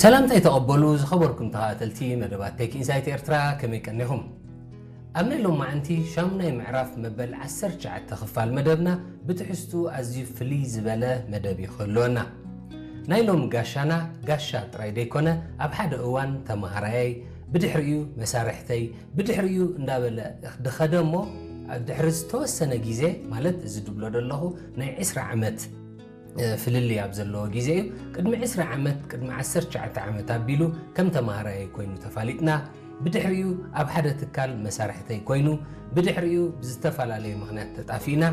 ሰላምታይ ተቐበሉ ዝኸበርኩም ተኸታተልቲ መደባት ቴክ ኢንሳይት ኤርትራ፣ ከመይ ቀኒኹም? ኣብ ናይ ሎማዓንቲ ሻሙናይ ምዕራፍ መበል ዓሰርተ ትሽዓተ ክፋል መደብና ብትሕዝቱ ኣዝዩ ፍልይ ዝበለ መደብ እዩ ክህልወና። ናይ ሎም ጋሻና ጋሻ ጥራይ ደይኮነ፣ ኣብ ሓደ እዋን ተማሃራየይ፣ ብድሕሪኡ መሳርሕተይ፣ ብድሕሪኡ እንዳበለ ድኸደ እሞ፣ ድሕሪ ዝተወሰነ ግዜ፣ ማለት እዚ ድብሎ ዘለኹ ናይ ዕስራ ዓመት ፍልልይ ኣብ ዘለዎ ግዜ እዩ። ቅድሚ ዕስራ ዓመት፣ ቅድሚ ዓሰርተ ትሽዓተ ዓመት ኣቢሉ ከም ተማሃራይ ኮይኑ ተፋሊጥና። ብድሕሪኡ ኣብ ሓደ ትካል መሳርሕተይ ኮይኑ፣ ብድሕሪኡ ብዝተፈላለየ ምኽንያት ተጣፊእና።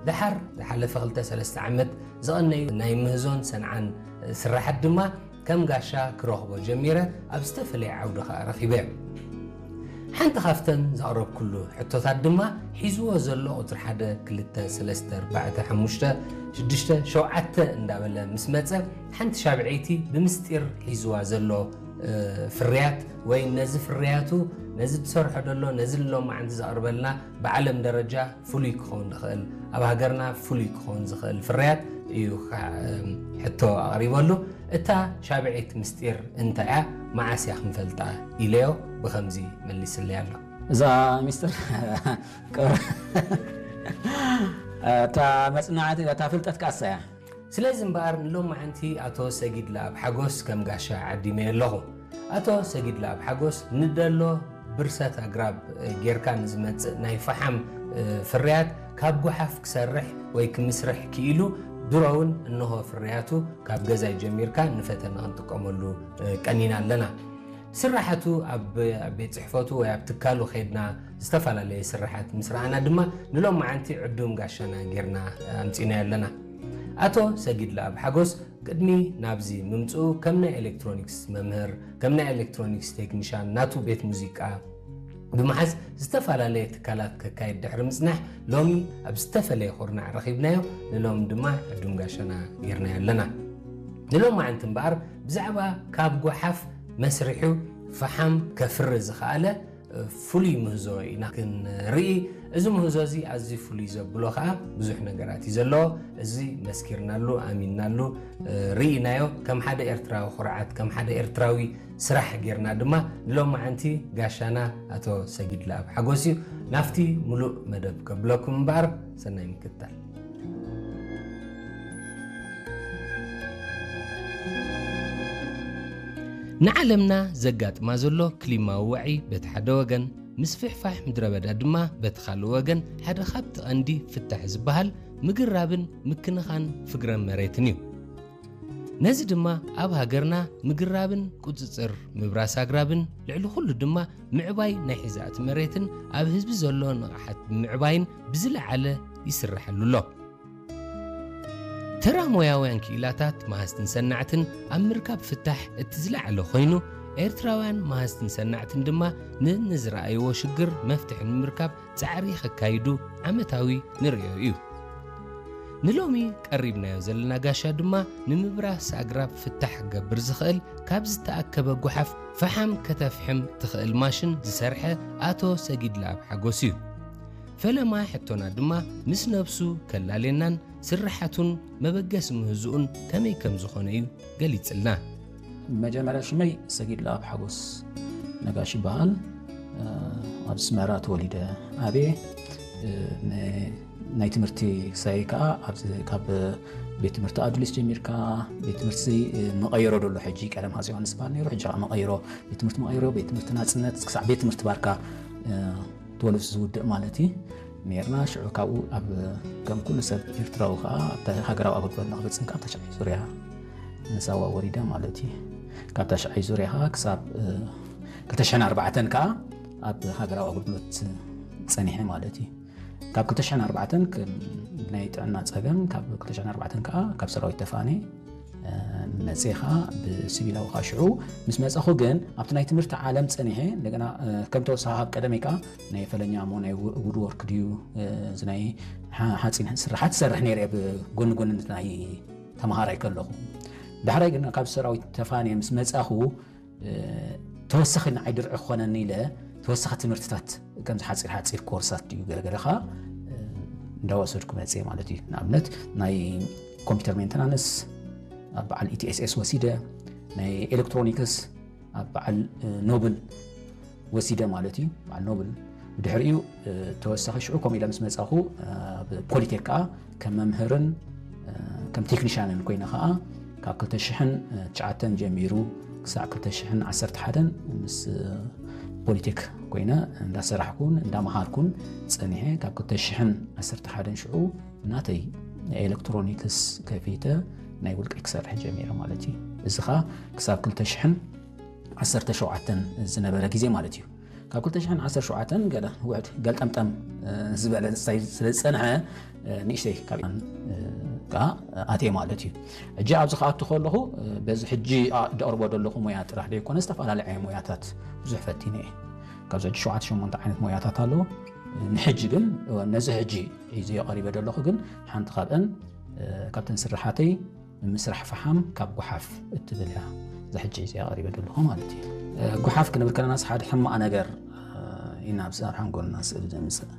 ደሓር ዝሓለፈ ክልተ ሰለስተ ዓመት ዝቐነዩ ናይ ምህዞን ሰንዓን ስራሓት ድማ ከም ጋሻ ክረኽቦ ጀሚረ፣ ኣብ ዝተፈለየ ዓውዲ ኸኣ ረኺበ። ሓንቲ ካብተን ዘቕረብኩሉ ሕቶታት ድማ ሒዝዎ ዘሎ ቁጽሪ ሓደ፣ ክልተ፣ ሰለስተ፣ ኣርባዕተ፣ ሓሙሽተ፣ ሽዱሽተ፣ ሸውዓተ እንዳበለ ምስ መጸ፣ ሓንቲ ሻብዐይቲ ብምስጢር ሒዝዋ ዘሎ፣ እ፣ ፍርያት ወይ ነዚ ፍርያቱ፣ ነዚ ዝሰርሖ ዘሎ፣ ነዚ ሎማዓንቲ ዘቕርበልና ብዓለም ደረጃ ፍሉይ ክኸውን ዝኽእል፣ ኣብ ሃገርና ፍሉይ ክኸውን ዝኽእል ፍርያት እዩ ካ-፣ ሕቶ ኣቕሪበሉ። እታ ሻብዐይቲ ምስጢር እንታይ እያ? መዓስ እያ ክንፈልጣ? ኢለዮ። ብኸምዚ መሊስለይ ኣሎ። እዛ ሚስጥር እታ መጽናዕቲ፣ እታ ፍልጠት ከኣሳ እያ። ስለዚ እምበኣር ንሎማዓንቲ ኣቶ ሰጊድ ለኣብ ሓጎስ ከም ጋሻ ዓዲመዮ ኣለኹ። ኣቶ ሰጊድ ለኣብ ሓጎስ ንደሎ ብርሰት ኣግራብ ጌርካ ንዝመጽእ ናይ ፈሓም ፍርያት ካብ ጓሓፍ ክሰርሕ ወይ ክምስርሕ ክኢሉ፣ ድሮ እውን እንሆ ፍርያቱ ካብ ገዛይ ጀሚርካ ንፈተና ክንጥቀመሉ ቀኒና ኣለና። ስራሓቱ ኣብ፣ ኣብ ቤት ጽሕፈቱ ወይ ኣብ ትካሉ ኸይድና ዝተፈላለየ ስራሓት ምስ ረኣና ድማ ንሎማዓንቲ ዕዱም ጋሻና ጌርና ኣምጺናዮ ኣለና። ኣቶ ሰጊድ ለኣብ ሓጎስ ቅድሚ ናብዚ ምምጽኡ ከም ናይ ኤሌክትሮኒክስ መምህር፣ ከም ናይ ኤሌክትሮኒክስ ቴክኒሻን ናቱ ቤት ሙዚቃ ብምሓዝ ዝተፈላለየ ትካላት ከካይድ ድሕሪ ምጽናሕ ሎሚ ኣብ ዝተፈለየ ኩርናዕ ረኺብናዮ። ንሎም ድማ ዕዱም ጋሻና ጌርናዮ ኣለና። ንሎማዓንቲ እምበኣር ብዛዕባ ካብ ጓሓፍ መስሪሑ ፈሓም ከፍሪ ዝኸኣለ ፍሉይ ምህዞ ኢና ክንርኢ። እዚ ምህዞ እዚ ኣዝዩ ፍሉይ ዘብሎ ከኣ ብዙሕ ነገራት እዩ ዘለዎ። እዚ መስኪርናሉ፣ ኣሚንናሉ፣ እ፣ ርኢናዮ። ከም ሓደ ኤርትራዊ ኩርዓት፣ ከም ሓደ ኤርትራዊ ስራሕ ጌርና ድማ ንሎማዓንቲ ጋሻና ኣቶ ሰጊድ ለኣብ ሓጎስ እዩ። ናብቲ ሙሉእ መደብ ከብለኩም እምበኣር፣ ሰናይ ምክትታል። ንዓለምና ዘጋጥማ ዘሎ ክሊማዊ ዋዒ በቲ ሓደ ወገን፣ ምስፍሕፋሕ ምድረ በዳ ድማ በቲ ካልእ ወገን፣ ሓደ ካብቲ ቀንዲ ፍታሕ ዝበሃል ምግራብን ምክንኻን ፍግረ መሬትን እዩ። ነዚ ድማ ኣብ ሃገርና ምግራብን ቁጽጽር ምብራስ ኣግራብን ልዕሊ ኩሉ ድማ ምዕባይ ናይ ሒዛእቲ መሬትን ኣብ ህዝቢ ዘሎ ንቕሓት ብምዕባይን ብዝለዓለ ይስርሐሉ ኣሎ። ተራ ሞያውያን ክኢላታት መሃዝትን ሰናዕትን ኣብ ምርካብ ፍታሕ እቲ ዝለዓለ ኮይኑ፣ ኤርትራውያን መሃዝትን ሰናዕትን ድማ ነንዝረኣይዎ ሽግር መፍትሒ ንምርካብ ጻዕሪ ከካይዱ ዓመታዊ ንርእዮ እዩ። ንሎሚ ቀሪብናዮ ዘለና ጋሻ ድማ ንምብራስ ኣግራብ ፍታሕ ክገብር ዝኽእል፣ ካብ ዝተኣከበ ጓሓፍ ፈሓም ከተፍሕም ትኽእል ማሽን ዝሰርሐ ኣቶ ሰጊድ ለኣብ ሓጎስ እዩ። ፈለማ ሕቶና ድማ ምስ ነብሱ ከላልየናን ስርሓቱን መበገሲ ምህዝኡን ከመይ ከም ዝኾነ እዩ ገሊጽልና። መጀመርያ ሽመይ ሰጊድ ለኣብ ሓጎስ ነጋሽ ይበሃል። እ፣ ኣብ ኣስመራ ተወሊደ ዓብየ። እ፣ ን-፣ ናይ ትምህርቲ ክሳይ ከኣ ኣብዚ ካብ ቤት ትምህርቲ ኣዱሊስ ጀሚርካ ቤት ትምህርቲ፣ እ፣ መቐይሮ ደሎ ሕጂ ቀደም ሃፀይ ዮሃንስ ይበሃል ነይሩ፣ ሕጂ ከኣ መቐይሮ፣ ቤት ትምህርቲ መቐይሮ፣ ቤት ትምህርቲ ናጽነት ክሳዕ ቤት ትምህርቲ ባርካ፣ እ፣ ተወልፍ ዝውድእ ማለት እዩ። ነርና። ሽዑ ካብኡ ኣብ ከም ኩሉ ሰብ ኤርትራዊ ከኣ ኣብታ ሃገራዊ ኣገልግሎት ንኽፍጽም ከኣ ኣብ ታሽዓይ ዙርያ ንሳዋ ወሪደ ማለት እዩ። ካብ ታሽዓይ ዙርያ ከኣ ክሳብ፣ እ፣ ክልተ ሽሕን ኣርባዕተን ከኣ ኣብ ሃገራዊ ኣገልግሎት ጸኒሐ ማለት እዩ። ካብ ክልተ ሽሕን ኣርባዕተን ከም ናይ ጥዕና ጸገም ካብ ክልተ ሽሕን ኣርባዕተን ከኣ ካብ ሰራዊት ተፋኔ መጽየ ኸኣ ብሲቪላዊ ኸኣ ሽዑ ምስ መጻኹ ግን ኣብቲ ናይ ትምህርቲ ዓለም ጸኒሐ እንደገና፣ እ፣ ከም ተወሳኺ ካብ ቀደመይ ከኣ ናይ ፈለኛ እሞ ናይ ው-፣ ውድወርክ ድዩ፣ እ፣ እዚ ናይ ሓ-፣ ሓጺን ስራሓት ዝሰርሕ ነይረ እየ ብጎኒ ጎኒ ናይ ተምሃራይ ከለኹ። ዳሕራይ ግን ካብ ሰራዊት ተፋንየ ምስ መጻኹ፣ እ፣ ተወሳኺ ንዓይ ድርዒ ክኾነኒ ኢለ ተወሳኺ ትምህርትታት ከምዚ ሓጺር ሓጺር ኮርሳት ድዩ ገለገለ ኸኣ፣ እ፣ እንዳወሰድኩ መጽየ ማለት እዩ። ንኣብነት ናይ ኮምፒውተር ሜንተናንስ ኣብ በዓል ኢ ቲ ኤስ ኤስ ወሲደ፣ ናይ ኤሌክትሮኒክስ ኣብ በዓል ኖብል ወሲደ ማለት እዩ። በዓል ኖብል ብድሕሪኡ ተወሳኺ ሽዑ ከምኡ ኢለ ምስ መጻኹ ኣብ ፖሊቴክ ከዓ ከም መምህርን ከም ቴክኒሻንን ኮይነ ከዓ ካብ ክልተ ሽሕን ትሽዓተን ጀሚሩ ክሳዕ ክልተ ሽሕን ዓሰርተ ሓደን ምስ ፖሊቴክ ኮይነ እንዳሰራሕኩን እንዳመሃርኩን ጸኒሐ። ካብ ክልተ ሽሕን ዓሰርተ ሓደን ሽዑ ናተይ ኤሌክትሮኒክስ ከፊተ ናይ ውልቀይ ክሰርሕ ጀሚረ ማለት እዩ። እዚ ከዓ ክሳብ ክልተ ሽሕን ዓሰርተ ሸውዓተን ዝነበረ ግዜ ማለት እዩ። ካብ ክልተ ሽሕን ዓሰርተ ሸውዓተን ገለ ውሕድ ገልጠምጠም ዝበለ ስለ ዝፀንሐ ንእሽተይ ካብ ከዓ ኣትየ ማለት እዩ። ሕጂ ኣብዚ ክኣቱ ከለኹ በዚ ሕጂ ደቕርቦ ዘለኹ ሞያ ጥራሕ ዘይኮነ ዝተፈላለዩ ሞያታት ብዙሕ ፈቲነ እየ። ካብዚ ሕጂ ሸውዓተ ሸሞንተ ዓይነት ሞያታት ኣለዎ። ንሕጂ ግን ነዚ ሕጂ ሒዘዮ ቀሪበ ዘለኹ ግን ሓንቲ ካብአን ካብተን ስራሓተይ ምስራሕ ፈሓም ካብ ጓሓፍ እትብል እያ። እዛ ሕጂ ሒዘዮ ቀሪበ ዘለኹ ማለት እዩ። ጓሓፍ ክንብል ከለናስ ሓደ ሕማቕ ነገር ኢና ኣብ ሓንጎልና ስእሊ ዘምፅእ።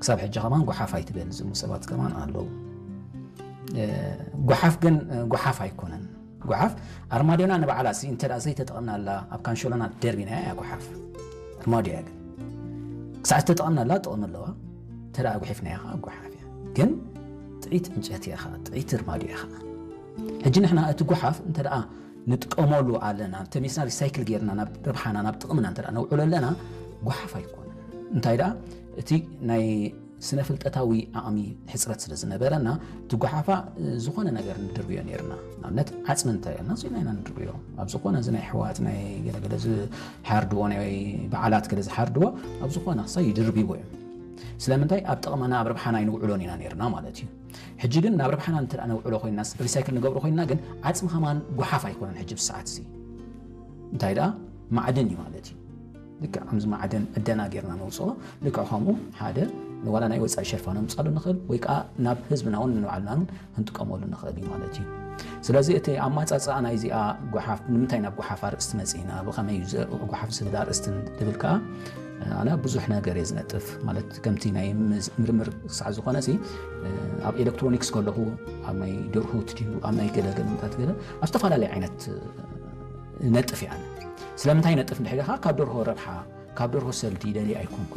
ክሳብ ሕጂ ከማን ጓሓፍ ኣይትበል ዝብሉ ሰባት ከማን ኣለዉ። ጓሓፍ ግን ጓሓፍ ኣይኮነን። ጓሓፍ ኣርማድዮና ንባዕላ ሲ እንተ ዘይተጠቐምናላ ኣብ ካንሾሎና ደርቢና እያ ጓሓፍ ኣርማድዮ እያ። ግን ክሳዕ ዝተጠቐምናላ ጥቕሚ ኣለዋ። እንተ ጒሒፍናያ ከዓ ጓሓፍ እያ። ግን ጥዒት ዕንጨቲ እያ ከዓ ጥዒት ኣርማድዮ እያ ከዓ። ሕጂ ንሕና እቲ ጓሓፍ እንተ ንጥቀመሉ ኣለና ተሚስና ሪሳይክል ጌርና ናብ ረብሓና ናብ ጥቕምና እንተ ነውዕሎ ኣለና ጓሓፍ ኣይኮነን። እንታይ ደኣ እቲ ናይ ስነ ፍልጠታዊ ዓቕሚ ሕፅረት ስለ ዝነበረና እቲ ጓሓፋ ዝኾነ ነገር ንድርብዮ ነርና። ንኣብነት ዓፅሚ እንታይ ና ኢና ንድርብዮ ኣብ ዝኾነ እዚ ናይ ኣሕዋት ናይ ገለገለ ዝሓርድዎ ናይ በዓላት ገለ ዝሓርድዎ ኣብ ዝኾነ ክሳ ይድርብዎ እዮም። ስለምንታይ ኣብ ጥቕምና ኣብ ረብሓና ኣይንውዕሎን ኢና ነርና ማለት እዩ። ሕጂ ግን ናብ ረብሓና እንተ ነውዕሎ ኮይና ሪሳይክል ንገብሮ ኮይና ግን ዓፅሚ ከማን ጓሓፍ ኣይኮነን። ሕጂ ብሰዓት እዚ እንታይ ደኣ ማዕድን እዩ ማለት እዩ። ልክዕ ከምዚ ማዕድን ዕደና ጌርና ነውፅኦ ልክዕ ከምኡ ሓደ ዋላ ናይ ወፃኢ ሸርፋ ነምፃሉ ንኽእል ወይ ከዓ ናብ ህዝብና እውን ንባዕልና እውን ክንጥቀመሉ ንኽእል እዩ ማለት እዩ። ስለዚ እቲ ኣማፃፅኣ ናይዚኣ ጓሓፍ ንምንታይ ናብ ጓሓፍ ኣርእስቲ መፂእና ብኸመይ እዩ ጓሓፍ ዝብል ኣርእስቲ ዝብል ከዓ ኣነ ብዙሕ ነገር እየ ዝነጥፍ ማለት ከምቲ ናይ ምርምር ክሳዕ ዝኾነ ኣብ ኤሌክትሮኒክስ ከለኹ ኣብ ናይ ደርሁት ድዩ ኣብ ናይ ገለገለታት ገለ ኣብ ዝተፈላለዩ ዓይነት ነጥፍ እየ ኣነ። ስለምንታይ ነጥፍ እንድሕር ኢኻ ካብ ደርሆ ረብሓ ካብ ደርሆ ሰልዲ ደልየ ኣይኮንኩን።